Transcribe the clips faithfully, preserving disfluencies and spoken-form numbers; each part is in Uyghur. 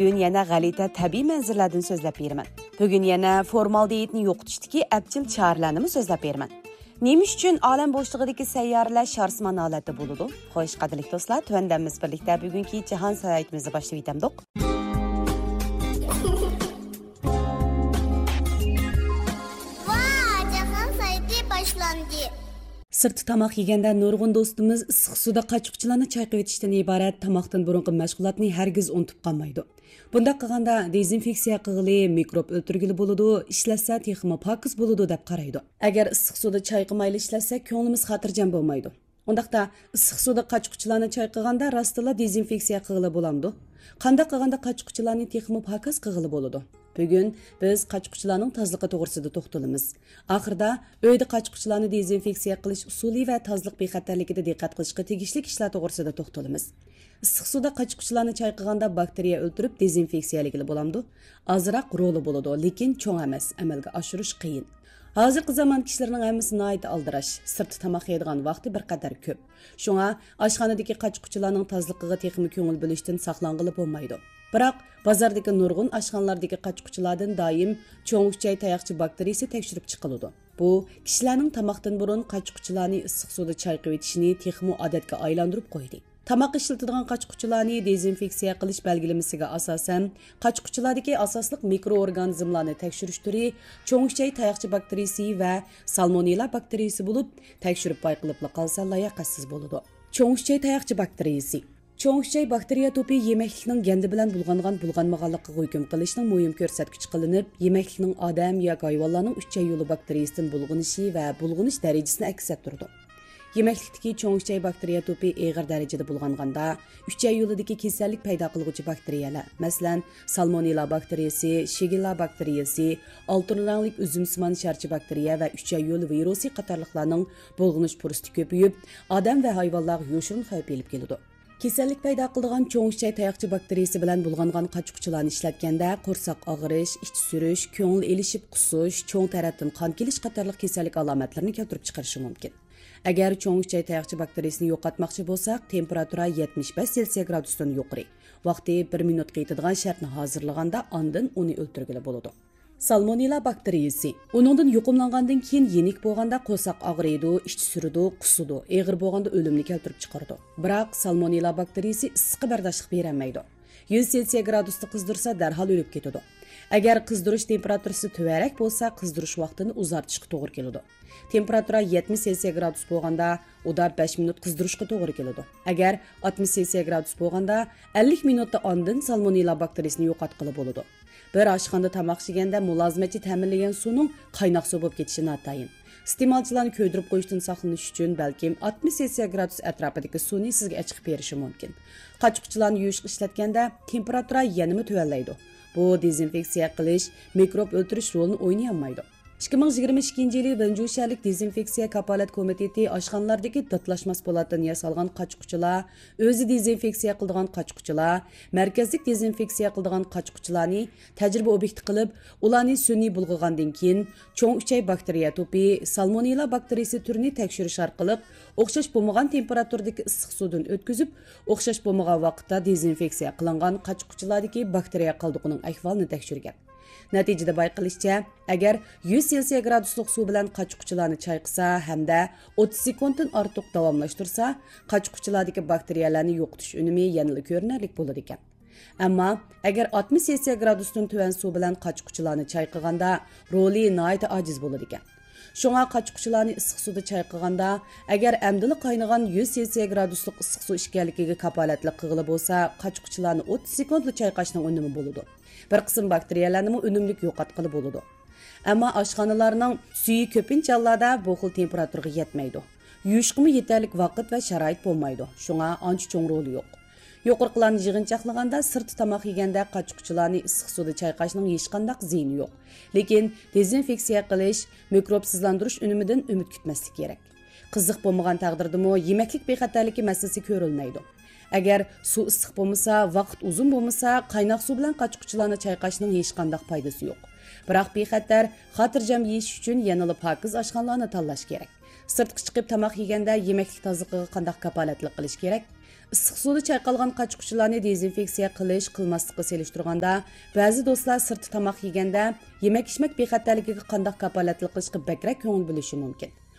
بۈگۈن يەنە غەلىتە تەبىئىي مەنزىرىلەردىن سۆزلەپ بېرىمەن. بۈگۈن يەنە فورمالدېئىدنى يوقىتىشتىكى ئەپچىل چارىلەرنىمۇ سۆزلەپ بېرىمەن. نېمە ئۈچۈن ئالەم بوشلۇقىدىكى سەييارىلەر شارسىمان ھالەتتە بولىدۇ؟ خوش، قەدىرلىك دوستلار، تۆۋەندە بىز بىرلىكتە بۈگۈنكى جاھان ساياھىتىمىزنى باشلىۋېتەمدۇق. ۋا، جاھان ساياھىتى باشلاندى. سىرتتا تاماق يېگەندە نۇرغۇن دوستىمىز ئىسسىق سۇدا قاچا-قۇچىلارنى چايقىۋېتىشتىن ئىبارەت تاماقتىن بۇرۇنقى مەشغۇلاتنى ھەرگىز ئۇنتۇپ قالمايدۇ. بۇنداق قىلغاندا دېزىنفېكسىيە قىلغىلى، مىكروب ئۆلتۈرگىلى بولىدۇ، ئىشلەتسە تېخىمۇ پاكىز بولىدۇ دەپ قارايدۇ. ئەگەر ئىسسىق سۇدا چايقىمايلا ئىشلەتسەك، كۆڭلىمىز خاتىرجەم بولمايدۇ. ئۇنداقتا ئىسسىق سۇدا قاچا-قۇچىلارنى چايقىغاندا راستتىنلا دېزىنفېكسىيە قىلغىلى بولامدۇ؟ قانداق قىلغاندا قاچا-قۇچىلارنى تېخىمۇ پاكىز قىلغىلى بولىدۇ؟ بۈگۈن بىز قاچا-قۇچىلارنىڭ تازىلىقى توغرىسىدا توختىلىمىز. ئاخىرىدا ئۆيدە قاچا-قۇچىلارنى دېزىنفېكسىيە قىلىش ئۇسۇلى ۋە تازىلىق بىخەتەرلىكىدە دىققەت قىلىشقا تېگىشلىك ئىشلار توغرىسىدا توختىلىمىز. ئىسسىق سۇدا قاچا-قۇچىلارنى چايقىغاندا باكتېرىيە ئۆلتۈرۈپ دېزىنفېكسىيەلىگىلى بولامدۇ؟ ئازراق رولى بولىدۇ، لېكىن چوڭ ئەمەس، ئەمەلگە ئاشۇرۇش قىيىن. ھازىرقى زامان كىشىلىرىنىڭ ھەممىسى ناھايىتى ئالدىراش، سىرتتا تاماق يەيدىغان ۋاقتى بىر قەدەر كۆپ. شۇڭا ئاشخانىدىكى قاچا-قۇچىلارنىڭ تازىلىقىغا تېخىمۇ كۆڭۈل بۆلۈشتىن ساقلانغىلى بولمايدۇ. بىراق، بازاردىكى نۇرغۇن ئاشخانىلاردىكى قاچا-قۇچىلاردىن دائىم چوڭ ئۈچەي تاياقچە باكتېرىيىسى تەكشۈرۈپ چىقىلىدۇ. بۇ كىشىلەرنىڭ تاماقتىن بۇرۇن قاچا-قۇچىلارنى ئىسسىق سۇدا چايقىۋېتىشىنى تېخىمۇ ئادەتكە ئايلاندۇرۇپ قويدى. تاماق ئىشلىتىدىغان قاچا-قۇچىلارنى دېزىنفېكسىيە قىلىش بەلگىلىمىسىگە ئاساسەن، قاچا-قۇچىلاردىكى ئاساسلىق مىكروئورگانىزملارنى تەكشۈرۈش تۈرى چوڭ ئۈچەي تاياقچە باكتېرىيىسى ۋە سالمونېللا باكتېرىيىسى بولۇپ، تەكشۈرۈپ بايقىلىپلا قالسا لاياقەتسىز بولىدۇ. چوڭ ئۈچەي تاياقچە باكتېرىيىسى. چوڭ ئۈچەي باكتېرىيە توپى يېمەكلىكنىڭ گەندە بىلەن بۇلغانغان-بۇلغانمىغانلىقىغا ھۆكۈم قىلىشنىڭ مۇھىم كۆرسەتكۈچى قىلىنىپ، يېمەكلىكنىڭ ئادەم ياكى ھايۋانلارنىڭ ئۈچەي يولى باكتېرىيىسىدىن بۇلغىنىشى ۋە بۇلغىنىش دەرىجىسىنى ئەكس ئەتتۈرىدۇ. يېمەكلىكتىكى چوڭ ئۈچەي باكتېرىيە توپى ئېغىر دەرىجىدە بۇلغانغاندا، ئۈچەي يولىدىكى كېسەللىك پەيدا قىلغۇچى باكتېرىيەلەر، مەسىلەن، سالمونېللا باكتېرىيىسى، شىگېللا باكتېرىيىسى، ئالتۇن رەڭلىك ئۈزۈمسىمان شارچە باكتېرىيە ۋە ئۈچەي يولى ۋىرۇسى قاتارلىقلارنىڭ بۇلغىنىش پۇرسىتى كۆپىيىپ، ئادەم ۋە ھايۋانلارغا يوشۇرۇن خەۋپ ئېلىپ كېلىدۇ. كېسەللىك پەيدا قىلىدىغان چوڭ ئۈچەي تاياقچە باكتېرىيىسى بىلەن بۇلغانغان قاچا-قۇچىلارنى ئىشلەتكەندە، قورساق ئاغرىش، ئىچى سۈرۈش، كۆڭۈل ئېلىشىپ قۇسۇش، چوڭ تەرەتتىن قان كېلىش قاتارلىق كېسەللىك ئالامەتلىرىنى كەلتۈرۈپ چىقىرىشى مۇمكىن. ئەگەر چوڭ ئۈچەي تاياقچە باكتېرىيىسىنى يوقاتماقچى بولساق، تېمپېراتۇرا يەتمىش بەش سېلسىيە گرادۇستىن يۇقىرى، ۋاقتى بىر مىنۇتقا يېتىدىغان شەرتنى ھازىرلىغاندا، ئاندىن ئۇنى ئۆلتۈرگىلى بولىدۇ. سالمونېللا باكتېرىيىسى. ئۇنىڭدىن يۇقۇملانغاندىن كېيىن يېنىك بولغاندا قورساق ئاغرىيدۇ، ئىچى سۈرىدۇ، قۇسىدۇ، ئېغىر بولغاندا ئۆلۈمنى كەلتۈرۈپ چىقىرىدۇ. بىراق، سالمونېللا باكتېرىيىسى ئىسسىققا بەرداشلىق بېرەلمەيدۇ. يۈز سېلسىيە گرادۇستا قىزدۇرسا، دەرھال ئۆلۈپ كېتىدۇ. ئەگەر قىزدۇرۇش تېمپېراتۇرىسى تۆۋەنرەك بولسا، قىزدۇرۇش ۋاقتىنى ئۇزارتىشقا توغرا كېلىدۇ. تېمپېراتۇرا يەتمىش سېلسىيە گرادۇس بولغاندا، ئۇدا بەش مىنۇت قىزدۇرۇشقا توغرا كېلىدۇ. ئەگەر ئاتمىش سېلسىيە گرادۇس بولغاندا، ئەللىك مىنۇتتا ئاندىن سالمونېللا باكتېرىيىسىنى يوقاتقىلى بولىدۇ. بىر ئاشخانىدا تاماق ئىشلىگەندە مۇلازىمەتچى تەمىنلىگەن سۇنىڭ قايناق سۇ بولۇپ كېتىشى ناتايىن. ئىستېمالچىلارنى كۆيدۈرۈپ قويۇشتىن ساقلىنىش ئۈچۈن بەلكىم ئاتمىش سېلسىيە گرادۇس ئەتراپىدىكى سۇنى سىزگە ئېچىقىپ بېرىشى مۇمكىن. قاچا-قۇچىلارنى يۇيۇشقا ئىشلەتكەندە تېمپېراتۇرا يەنىمۇ تۆۋەنلەيدۇ. بۇ دېزىنفېكسىيە قىلىش، مىكروب ئۆلتۈرۈش رولىنى ئوينىيالمايدۇ. ئىككى مىڭ يىگىرمە ئىككىنچى يىلى ۋېنجۇ شەھەرلىك دېزىنفېكسىيە كاپالەت كومىتېتى ئاشخانىلاردىكى داتلاشماس پولاتتىن ياسالغان قاچا-قۇچىلار، ئۆزى دېزىنفېكسىيە قىلىدىغان قاچا-قۇچىلار، مەركەزلىك دېزىنفېكسىيە قىلىدىغان قاچا-قۇچىلارنى تەجرىبە ئوبيېكتى قىلىپ، ئۇلارنى سۈنئىي بۇلغىغاندىن كېيىن، چوڭ ئۈچەي باكتېرىيە توپى، سالمونېللا باكتېرىيىسى تۈرىنى تەكشۈرۈش ئارقىلىق، ئوخشاش بولمىغان تېمپېراتۇرىدىكى ئىسسىق سۇدىن ئۆتكۈزۈپ، ئوخشاش بولمىغان ۋاقىتتا دېزىنفېكسىيە قىلىنغان قاچا-قۇچىلاردىكى باكتېرىيە قالدۇقىنىڭ ئەھۋالىنى تەكشۈرگەن. نەتىجىدە بايقىلىشىچە، ئەگەر يۈز سېلسىيە گرادۇسلۇق سۇ بىلەن قاچا-قۇچىلارنى چايقىسا ھەمدە ئوتتۇز سېكۇنتتىن ئارتۇق داۋاملاشتۇرسا، قاچا-قۇچىلاردىكى باكتېرىيەلەرنى يوقىتىش ئۈنۈمى يەنىلا كۆرۈنەرلىك بولىدىكەن. ئەمما ئەگەر ئاتمىش سېلسىيە گرادۇستىن تۆۋەن سۇ بىلەن قاچا-قۇچىلارنى چايقىغاندا، رولى ناھايىتى ئاجىز بولىدىكەن. شۇڭا قاچا-قۇچىلارنى ئىسسىق سۇدا چايقىغاندا، ئەگەر ئەمدىلا قاينىغان يۈز سېلسىيە گرادۇسلۇق ئىسسىق سۇ ئىكەنلىكىگە كاپالەتلىك قىلغىلى بولسا، قاچا-قۇچىلارنى ئوتتۇز سېكۇنتلا چايقاشنىڭ ئۈنۈمى بولىدۇ. بىر قىسىم باكتېرىيەلەرنىمۇ ئۈنۈملۈك يوقاتقىلى بولىدۇ. ئەمما ئاشخانىلارنىڭ سۈيى كۆپىنچە ھاللاردا بۇ خىل تېمپېراتۇرىغا يەتمەيدۇ. يۇيۇشقىمۇ يېتەرلىك ۋاقىت ۋە شارائىت بولمايدۇ. شۇڭا ئانچە چوڭ رولى يوق. يۇقىرىقىلارنى يىغىنچاقلىغاندا، سىرتتا تاماق يېگەندە قاچا-قۇچىلارنى ئىسسىق سۇدا چايقاشنىڭ ھېچقانداق زىيىنى يوق. لېكىن دېزىنفېكسىيە قىلىش، مىكروبسىزلاندۇرۇش ئۈنۈمىدىن ئۈمىد كۈتمەسلىك كېرەك. قىزىق بولمىغان تەقدىردىمۇ، يېمەكلىك بىخەتەرلىكى مەسىلىسى كۆرۈلمەيدۇ. ئەگەر سۇ ئىسسىق بولمىسا، ۋاقىت ئۇزۇن بولمىسا، قايناق سۇ بىلەن قاچا-قۇچىلارنى چايقاشنىڭ ھېچقانداق پايدىسى يوق. بىراق بىخەتەر، خاتىرجەم يېيىش ئۈچۈن يەنىلا پاكىز ئاشخانىلارنى تاللاش كېرەك. سىرتقا چىقىپ تاماق يېگەندە يېمەكلىك تازىلىقىغا قانداق كاپالەتلىك قىلىش كېرەك؟ ئىسسىق سۇدا چايقالغان قاچا-قۇچىلارنى دېزىنفېكسىيە قىلىش، قىلماسلىققا سېلىشتۇرغاندا، بەزى دوستلار سىرتتا تاماق يېگەندە يېمەك-ئىچمەك بىخەتەرلىكىگە قانداق كاپالەتلىك قىلىشقا بەكرەك كۆڭۈل بۆلۈشى مۇمكىن.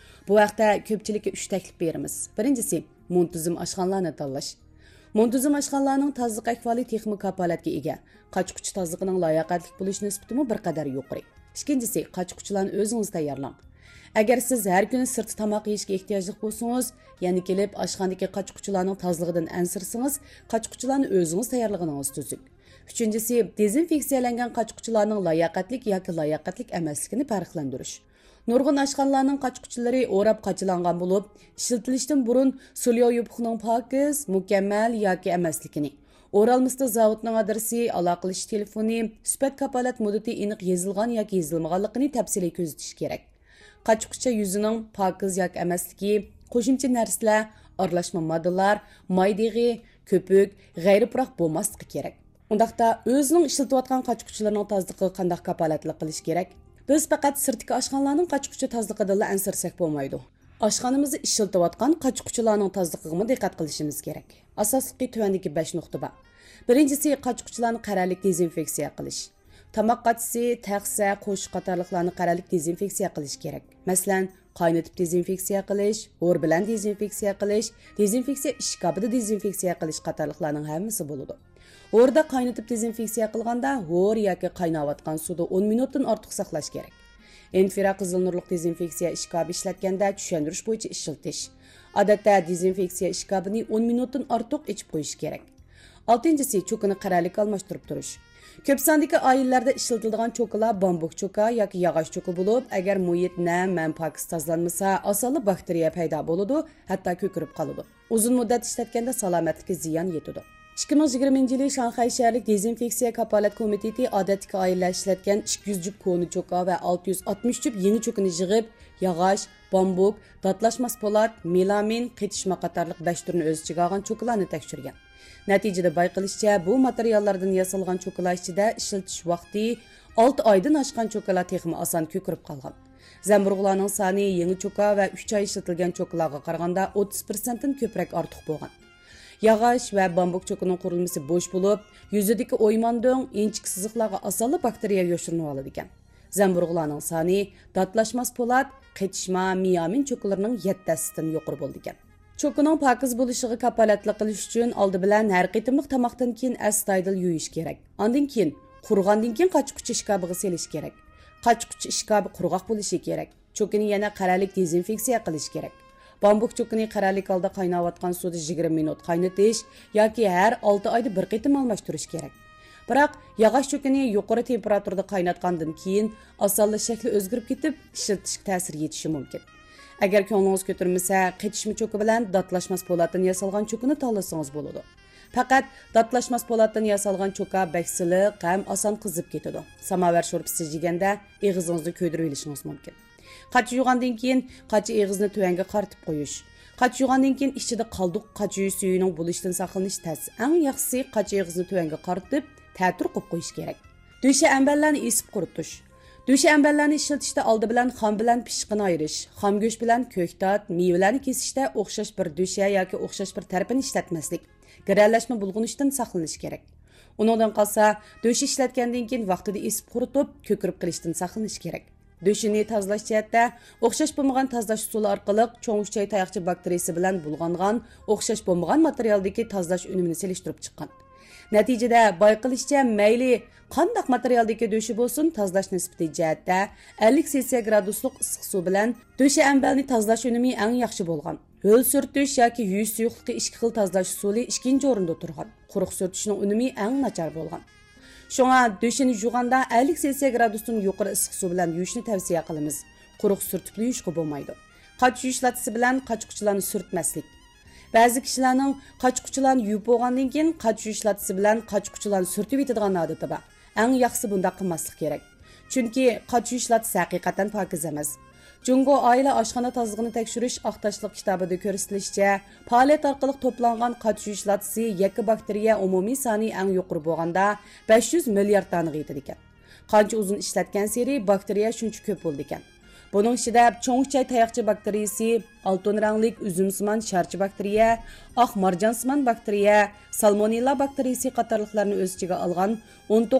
بۇ ھەقتە كۆپچىلىككە ئۈچ تەكلىپ بېرىمىز. بىرىنچىسى، مۇنتىزىم ئاشخانىلارنى تاللاش. مۇنتىزىم ئاشخانىلارنىڭ تازىلىق ئەھۋالى تېخىمۇ كاپالەتكە ئىگە. قاچا-قۇچا تازىلىقىنىڭ لاياقەتلىك بولۇش نىسبىتىمۇ بىر قەدەر يۇقىرى. ئىككىنچىسى، قاچا-قۇچىلارنى ئۆزىڭىز تەييارلاڭ. ئەگەر سىز ھەر كۈنى سىرتتا تاماق يېيىشكە ئېھتىياجلىق بولسىڭىز، يەنە كېلىپ ئاشخانىدىكى قاچا-قۇچىلارنىڭ تازىلىقىدىن ئەنسىرىسىڭىز، قاچا-قۇچىلارنى ئۆزىڭىز تەييارلىغىنىڭىز تۈزۈك. ئۈچىنچىسى، دېزىنفېكسىيەلەنگەن قاچا-قۇچىلارنىڭ لاياقەتلىك ياكى لاياقەتلىك ئەمەسلىكىنى پەرقلەندۈرۈش. نۇرغۇن ئاشخانىلارنىڭ قاچا-قۇچىلىرى ئوراپ قاچىلانغان بولۇپ، ئىشلىتىلىشتىن بۇرۇن سۇلياۋ يوپۇقنىڭ پاكىز، مۇكەممەل ياكى ئەمەسلىكىنى، ئورالمىسىدا زاۋۇتنىڭ ئادرېسى، ئالاقىلىشىش تېلېفونى، سۈپەت كاپالەت مۇددىتى ئېنىق يېزىلغان ياكى يېزىلمىغانلىقىنى تەپسىلىي كۆزىتىش كېرەك. قاچا-قۇچا يۈزىنىڭ پاكىز ياكى ئەمەسلىكى، قوشۇمچە نەرسىلەر، ئارىلاشما ماددىلار، ماي دېغى، كۆپۈك، غەيرىي پۇراق بولماسلىقى كېرەك. ئۇنداقتا ئۆزىنىڭ ئىشلىتىۋاتقان قاچا-قۇچىلىرىنىڭ تازىلىقىغا قانداق كاپالەتلىك قىلىش كېرەك؟ بىز پەقەت سىرتتىكى ئاشخانىلارنىڭ قاچا-قۇچا تازىلىقىدىنلا ئەنسىرىسەك بولمايدۇ. ئاشخانىمىزدا ئىشلىتىۋاتقان قاچا-قۇچىلارنىڭ تازىلىقىغىمۇ دىققەت قىلىشىمىز كېرەك. ئاساسلىقى تۆۋەندىكى بەش نۇقتا بار. بىرىنچىسى، قاچا-قۇچىلارنى قەرەللىك دېزىنفېكسىيە قىلىش. تاماق قاچىسى، تەخسە، قوشۇق قاتارلىقلارنى قەرەللىك دېزىنفېكسىيە قىلىش كېرەك. مەسىلەن، قاينىتىپ دېزىنفېكسىيە قىلىش، ھور بىلەن دېزىنفېكسىيە قىلىش، دېزىنفېكسىيە ئىشكاپىدا دېزىنفېكسىيە قىلىش قاتارلىقلارنىڭ ھەممىسى بولىدۇ. ھوردا قاينىتىپ دېزىنفېكسىيە قىلغاندا، ھور ياكى قايناۋاتقان سۇدا ئون مىنۇتتىن ئارتۇق ساقلاش كېرەك. ئىنفرا قىزىل نۇرلۇق دېزىنفېكسىيە ئىشكاپى ئىشلەتكەندە چۈشەندۈرۈش بويىچە ئىشلىتىش. ئادەتتە دېزىنفېكسىيە ئىشكاپىنى ئون مىنۇتتىن ئارتۇق ئېچىپ قويۇش كېرەك. ئالتىنچىسى، چوكىنى قەرەللىك ئالماشتۇرۇپ تۇرۇش. كۆپ ساندىكى ئائىلىلەردە ئىشلىتىلىدىغان چوكىلار بامبۇك چوكا ياكى ياغاچ چوكا بولۇپ، ئەگەر مۇھىت نەم ھەم پاكىز تازىلانمىسا، ئاسانلا باكتېرىيە پەيدا بولىدۇ، ھەتتا كۆكىرىپ قالىدۇ. ئۇزۇن مۇددەت ئىشلەتكەندە سالامەتلىككە زىيان يېتىدۇ. ئىككى مىڭ يىگىرمىنچى يىلى شاڭخەي شەھەرلىك دېزىنفېكسىيە كاپالەت كومىتېتى ئادەتتىكى ئائىلىلەر ئىشلەتكەن ئىككى يۈز جۈپ كونا چوكا ۋە ئالتە يۈز ئاتمىش جۈپ يېڭى چوكىنى يىغىپ، ياغاچ، بامبۇك، داتلاشماس پولات، مېلامىن، قېتىشما قاتارلىق بەش تۈرنى ئۆز ئىچىگە ئالغان چوكىلارنى تەكشۈرگەن. نەتىجىدە بايقىلىشىچە، بۇ ماتېرىياللاردىن ياسالغان چوكىلار ئىچىدە ئىشلىتىش ۋاقتى ئالتە ئايدىن ئاشقان چوكىلار تېخىمۇ ئاسان كۆكىرىپ قالغان. زەمبۇرۇغلارنىڭ سانى يېڭى چوكا ۋە ئۈچ ئاي ئىشلىتىلگەن چوكىلارغا قارىغاندا ئوتتۇز پىرسەنتتىن كۆپرەك ئارتۇق بولغان. ياغاچ ۋە بامبۇك چوكىنىڭ قۇرۇلمىسى بوش بولۇپ، يۈزىدىكى ئويماندۆڭ، ئىنچىكە سىزىقلارغا ئاسانلا باكتېرىيە يوشۇرۇنۇۋالىدىكەن. زەمبۇرۇغلارنىڭ سانى داتلاشماس پولات، قېتىشما، مىيامىن چوكىلىرىنىڭ يەتتە ھەسسىسىدىن يۇقىرى بولىدىكەن. چوكىنىڭ پاكىز بولۇشىغا كاپالەتلىك قىلىش ئۈچۈن ئالدى بىلەن ھەر قېتىملىق تاماقتىن كېيىن ئەستايىدىل يۇيۇش كېرەك. ئاندىن كېيىن، قۇرۇغاندىن كېيىن قاچا-قۇچا ئىشكاپىغا سېلىش كېرەك. قاچا-قۇچا ئىشكاپى قۇرغاق بولۇشى كېرەك. چوكىنى يەنە قەرەللىك دېزىنفېكسىيە قىلىش كېرەك. بامبۇك چوكىنى قەرەللىك ھالدا قايناۋاتقان سۇدا يىگىرمە مىنۇت قاينىتىش ياكى ھەر ئالتە ئايدا بىر قېتىم ئالماشتۇرۇش كېرەك. بىراق، ياغاچ چوكىنى يۇقىرى تېمپېراتۇرىدا قايناتقاندىن كېيىن، ئاسانلا شەكلى ئۆزگىرىپ كېتىپ، ئىشلىتىشكە تەسىر يېتىشى مۇمكىن. ئەگەر كۆڭلىڭىز كۆتۈرمىسە، قېتىشما چوكا بىلەن داتلاشماس پولاتتىن ياسالغان چوكىنى تاللىسىڭىز بولىدۇ. پەقەت داتلاشماس پولاتتىن ياسالغان چوكا بەك سىلىق ھەم ئاسان قىزىپ كېتىدۇ. ساماۋار شورپىسى يېگەندە ئېغىزىڭىزنى كۆيدۈرۈۋېلىشىڭىز مۇمكىن. قاچا يۇغاندىن كېيىن قاچا ئېغىزنى تۆۋەنگە قارىتىپ قويۇش. قاچا يۇغاندىن كېيىن ئىچىدە قالدۇق قاچا يۈيۈش سۈيىنىڭ بولۇشىدىن ساقلىنىش تەس. ئەڭ ياخشىسى قاچا ئېغىزنى تۆۋەنگە قارىتىپ، تەتۈر قويۇپ قويۇش كېرەك. دۆشە ئەمبەرلەرنى ئېسىپ قۇرۇتۇش. دۆشە ئەمبەرلەرنى ئىشلىتىشتە ئالدى بىلەن خام بىلەن پىششىقىنى ئايرىش، خام گۆش بىلەن كۆكتات، مېۋىلەرنى كېسىشتە ئوخشاش بىر دۆشە ياكى ئوخشاش بىر تەرىپىنى ئىشلەتمەسلىك، گىرەلەشمە بۇلغىنىشتىن ساقلىنىش كېرەك. ئۇنىڭدىن قالسا، دۆشە ئىشلەتكەندىن كېيىن ۋاقتىدا ئېسىپ قۇرۇتۇپ، كۆكىرىپ قېلىشتىن ساقلىنىش كېرەك. دۆشىنى تازىلاش جەھەتتە، ئوخشاش بولمىغان تازىلاش ئۇسۇلى ئارقىلىق چوڭ ئۈچەي تاياقچە باكتېرىيىسى بىلەن بۇلغانغان ئوخشاش بولمىغان ماتېرىيالدىكى تازىلاش ئۈنۈمىنى سېلىشتۇرۇپ چىققان. نەتىجىدە بايقىلىشىچە، مەيلى قانداق ماتېرىيالدىكى دۆشە بولسۇن، تازىلاش نىسبىتى جەھەتتە ئەللىك سېلسىيە گرادۇسلۇق ئىسسىق سۇ بىلەن دۆشە ئەمبەرنى تازىلاش ئۈنۈمى ئەڭ ياخشى بولغان. ھۆل سۈرتۈش ياكى يۇيۇش سۇيۇقلۇقى ئىككى خىل تازىلاش ئۇسۇلى ئىككىنچى ئورۇندا تۇرغان. قۇرۇق سۈرتۈشنىڭ ئۈنۈمى ئەڭ ناچار بولغان. شۇڭا دۆشىنى يۇغاندا ئەللىك سېلسىيە گرادۇستىن يۇقىرى ئىسسىق سۇ بىلەن يۇيۇشنى تەۋسىيە قىلىمىز. قۇرۇق سۈرتۈپلا يۇيۇشقا بولمايدۇ. قاچا يۇيۇش لاتىسى بىلەن قاچا-قۇچىلارنى سۈرتمەسلىك. بەزى كىشىلەرنىڭ قاچا-قۇچىلارنى يۇيۇپ بولغاندىن كېيىن قاچا يۇيۇش لاتىسى بىلەن قاچا-قۇچىلارنى سۈرتۈۋېتىدىغان ئادىتى بار. ئەڭ ياخشىسى بۇنداق قىلماسلىق كېرەك. چۈنكى قاچا يۇيۇش لاتىسى ھەقىقەتەن پاكىز ئەمەس. جۇڭگو ئائىلە ئاشخانا تازىلىقىنى تەكشۈرۈش ئاق تاشلىق كىتابىدا كۆرسىتىلىشىچە، پائالىيەت ئارقىلىق توپلانغان قاچا يۇيۇش لاتىسى يەككە باكتېرىيە ئومۇمىي سانى ئەڭ يۇقىرى بولغاندا بەش يۈز مىليارد دانىغا يېتىدىكەن. قانچە ئۇزۇن ئىشلەتكەنسېرى باكتېرىيە شۇنچە كۆپ بولىدىكەن. بۇنىڭ ئىچىدە چوڭ ئۈچەي تاياقچە باكتېرىيىسى، ئالتۇن رەڭلىك ئۈزۈمسىمان شارچە باكتېرىيە، ئاق مارجانسىمان باكتېرىيە، سالمونېللا باكتېرىيىسى قاتارلىقلارنى ئۆز ئىچىگە ئالغان ئون توققۇز